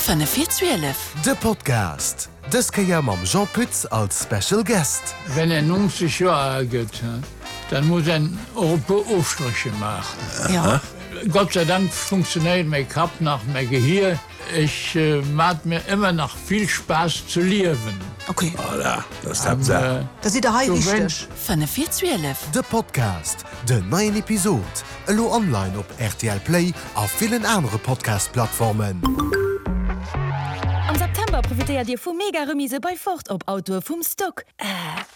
Fënnef vir 12. De Podcast, dës Kéier mam Jean Pütz als Special Guest. Wenn een 90 Joer al gëtt, dann muss een och e puer Ofstrécher maachen. Ja. Gott sei Dank funktionéiert mäi Kapp nach, mäi Gehier. Ech mat mir ëmmer nach vill Spaass ze liewen. Ok. Voilà, dat ass d'Haaptsaach. Da sidd der hei richteg. Fënnef vir 12. De Podcast, Den neien Episod elo online op rtl Play a villen anere Podcast-Plattformen. Am September profitéiert Dir vu mega Remise bei Ford op Autoe vum Stock. Äh,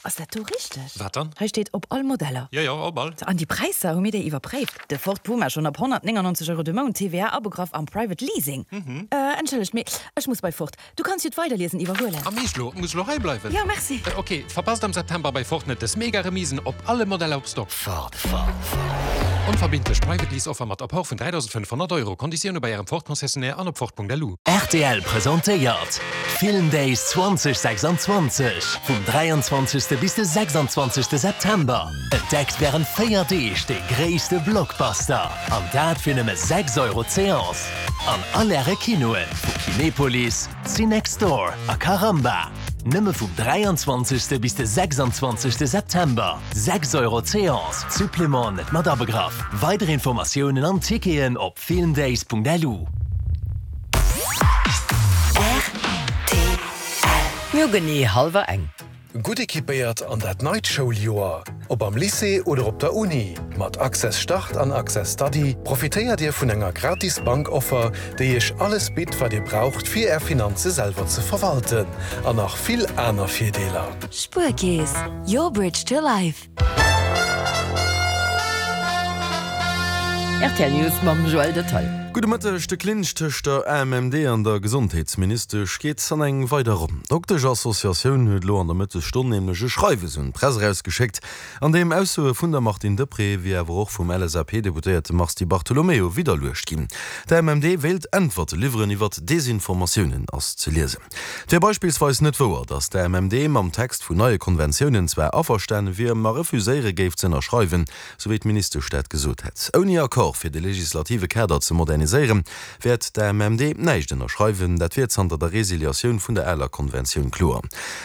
ass dat do richteg? Wat dann? Hei steet op all Modeller. Jo, jo, op all. An déi Präisser, hu mir déi iwwerpréift? De Ford Puma schonn ab 199 Euro de Mount, TVA abegraff am Private Leasing. Äh, entschëllegt, mee ech muss bei Ford. Du kanns jo d'Weiderliesen iwwerhuelen. A meescht lo? Muss lo hei bleiwen? Jo, merci. Ok, verpasst am September bei Ford net des mega Remisen op alle Modeller op Stock. Ford, Ford, Ford. Onverbindlech Private Lease Offer mat Apport vun 3.500 Euro. Konditioune bei Ärem Ford Concessionnaire an op Ford.lu. Rtl presentéiert d'Film Days 2026 vum 23. bis de 26. September. Entdeckt wärend 4 Deeg de gréisste Blockbuster an dat fir nëmme 6 Euro d'Seance. An all Äre Kinoe vu Kinepolis, Cinextdoor a Caramba. Nëmme vum 23. bis de 26. September. 6 Euro d'Seance, Supplément net mat abegraff. Weider Informatiounen an Ticketen op filmdays.lu. Rtl. Mir hu genee hallwer eng. Gutt equipéiert an dat neit Schouljoer, ob am Lycée oder op der Uni, mat Access Start an Access Study profitéiert Dir vun enger gratis Bankoffer, déi Iech alles bitt, wat Dir braucht, fir Är Finanze selwer ze verwalten, an nach vill aner Virdeeler. Spuerkeess, your bridge to life. Rtl News mam Joël Detaille. Gudde Mëtteg, De Clinch tëscht der AMMD an der Gesondheetsministesch geet an eng weider Ronn. D'Dokteschassociatioun huet elo an der Mëttesstonn nämlech e Schreiwes un d'Press erausgeschéckt, an deem Aussoe vun der Martine Deprez wéi awer och vum LSAP-Deputéierte Mars Di Bartolomeo widderluecht ginn. D'AMMD wéilt Äntwerte liwweren iwwert Desinformatiounen, ass ze liesen. Et wier beispillsweis net wouer, datt d'AMMD mam Text vun neie Konventiounen zwar averstane wier, ma refuséiere géif ze ënnerschreiwen, sou wéi d'Ministesch dat gesot hätt. Ouni Accord fir de legislative Kader ze moderniséieren, wäert d'AMMD näischt ënnerschreiwen. Dat wier zanter der Resiliatioun vun der aler Konventioun kloer.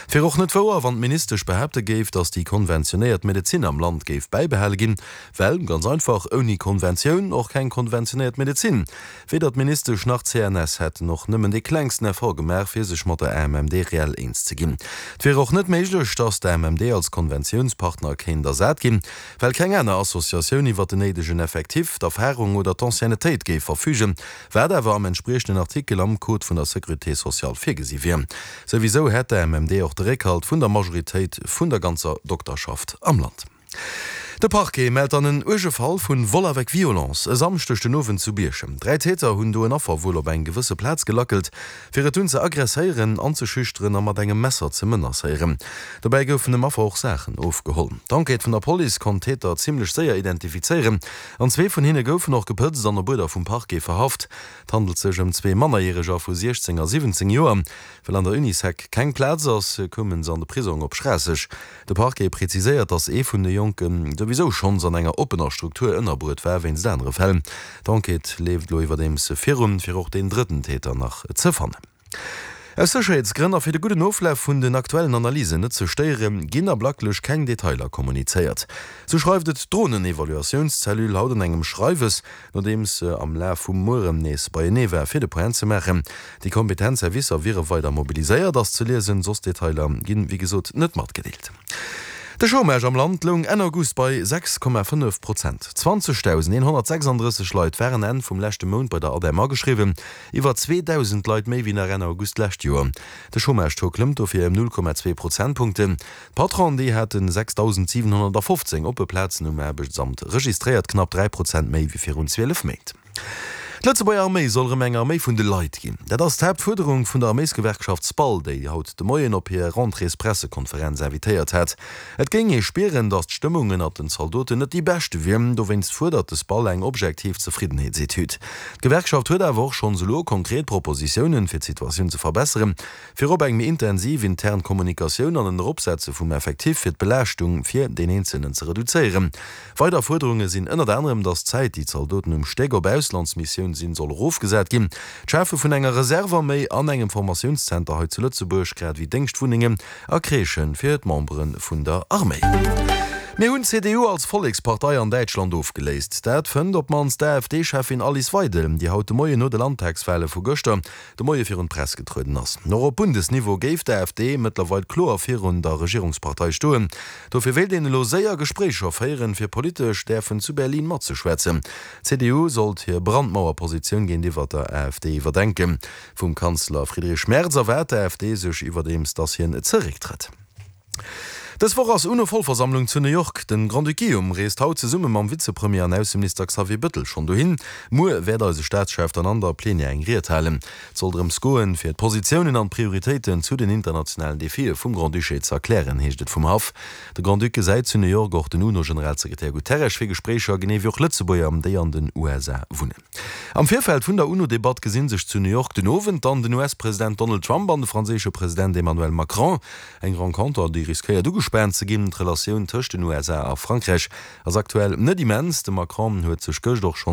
Et wier och net wouer, wann d'Ministesch behaapte géif, datt déi konventionéiert Medezin am Land géif bäibehale ginn, well ganz einfach ouni Konventioun och keng konventionéiert Medezin. Weder d'Ministesch nach d'CNS hätten och nëmmen dee klengsten Effort gemaach, fir sech mat der AMMD reell eens ze ginn. Et wier och net méiglech, datt d'AMMD als Konventiounspartner kéint ersat ginn, well keng aner Associatioun iwwer den néidegen Effectif, d'Erfarung oder d'Anciennetéit géif verfügen, wat awer am entspriechenden Artikel am Code vun der Sécurité sociale virgesi wier. Souwisou hätt d'AMMD och de Réckhalt vun der Majoritéit vun der ganzer Dokterschaft am Land. De Parquet mellt dann en uerge Fall vun Vol avec violence e Samschdeg den Owend zu Bierchem. 3 Täter hunn do en Affer wuel op eng gewësse Plaz gelackelt, fir et dunn ze aggresséieren, anzeschüchteren a mat engem Messer ze menacéieren. Dobäi goufen dem Affer och Saachen ofgeholl. D'Enquête vun der Police konnt d'Täter zimmlech séier identifizéieren an zwee vun hinne goufen och gepëtzt an op Uerder vum Parquet verhaft. Et handelt sech ëm zwee Mannerjäreger vu 16 a 17 Joer. Well an der Unisec keng Plaz ass, koume se an de Prisong op Schraasseg. De Parquet präziséiert, datt ee vun de Jonke souwisou schonns an enger oppener Struktur ënnerbruet war wéinst anere Fäll. D'Enquête leeft elo iwwerdeems virun, fir och deen drëtten Täter nach ze fannen. Aus Sécherheetsgrënn a fir de gudden Oflaf vun den aktuellen Analysen net ze stéieren, ginn ablacklech keng Detailer kommunizéiert. Sou schreift et d'Dronen-Evaluatiounscellule haut an engem Schreiwes. Nodeems se am Laf vum Mueren nees beienee war fir de Point ze maachen. Déi kompetent Servicer wiere weider mobiliséiert, ass ze liesen. Soss Detailer ginn, wéi gesot, net matgedeelt. De Chômage am Land loung Enn August bei 6,5 Prozent. 20.136 Leit waren Enn vum leschte Mount bei der ADEM ageschriwwen, iwwer 2.000 Leit méi wéi nach Enn August d'lescht Joer. De Chômage-Taux klëmmt dofir ëm 0,2 Prozentpunkten. D'Patronen, déi hate 6.715 oppe Plazen um Aarbechtsamt registréiert, knapp 3 Prozent méi wéi virun 12 Méint. D'Lëtzebuerger Arméi soll erëm eng Arméi vun de Leit ginn. Dat ass d'Haaptfuerderung vun der Arméisgewerkschaft SPAL, déi haut de Moien op hir Rentréespressekonferenz invitéiert hat. Et géing ee spieren, datt d'Stëmmung ënnert den Zaldoten net déi beschte wier. Dowéinst fuerdert de SPAL eng objektiv Zefriddenheetsetüd. D'Gewerkschaft huet awer och schonns elo konkret Propositiounen, fir d'Situatioun ze verbesseren. Virop eng méi intensiv intern Kommunikatioun an en Eropsetze vum Effectif fir d'Belaaschtung fir deen Eenzelnen ze reduzéieren. Weider Fuerderunge sinn ënnert anerem, datt d'Zäit, déi d'Zaldoten um Stéck op Auslandsmissioun. Formatioun sinn, soll erofgesat ginn. D'Schafe vun enger Reserve-Arméi an engem Formatiounszenter hei zu Lëtzebuerg, grad ewéi Déngschtwunnengen a Crèchë fir d'Membere vun der Arméi. Mir hunn d'CDU als Vollekspartei an Däitschland ofgeléist. Dat fënnt op d'mannst d'AfD-Cheffin Alice Weidel, déi haut de Moien no de Landtagswale vu gëschter de Moie virun d'Press getrueden ass. Och op Bundesniveau géif d'AfD mëttlerweil kloer virun der Regierungspartei stoen. Dofir wéilt een elo séier Gespréicher féieren, fir politesch däerfen zu Berlin matzeschwätzen. D'CDU sollt hir Brandmauerpositioun géintiwwer der AfD iwwerdenken. Vum Kanzler Friedrich Merz erwaart d'AfD sech iwwerdeems, datt hien zerécktrëtt. Dës Woch ass UNO-Vollversammlung zu New York. Den Grand-Duc Guillaume reest haut zesumme mam Vizepremier an Ausseminister Xavier Bëttel schonn dohin. Muer wäert eise Staatschef dann an der Plenière eng Ried halen. Et soll drëms goen, fir d'Positiounen an d'Prioritéiten zu den internationalen Defie vum Grand-Duché ze erklären, heescht et vum Haff. De Grand-Duc gesäit zu New York och den UNO-Generalsekretär Guterres fir Gespréicher, genee wéi och Lëtzebuerger, déi an den USA wunnen. Am Virfeld vun der UNO-Debatt gesi sech zu New York den Owend dann den US-President Donald Trump an de franséische President Emmanuel Macron. Eng Renconter, déi riskéiert ugespaant ze ginn. D'Relatioun tëscht den USA a Frankräich ass aktuell net immens. De Macron huet sech gëscht och schonns.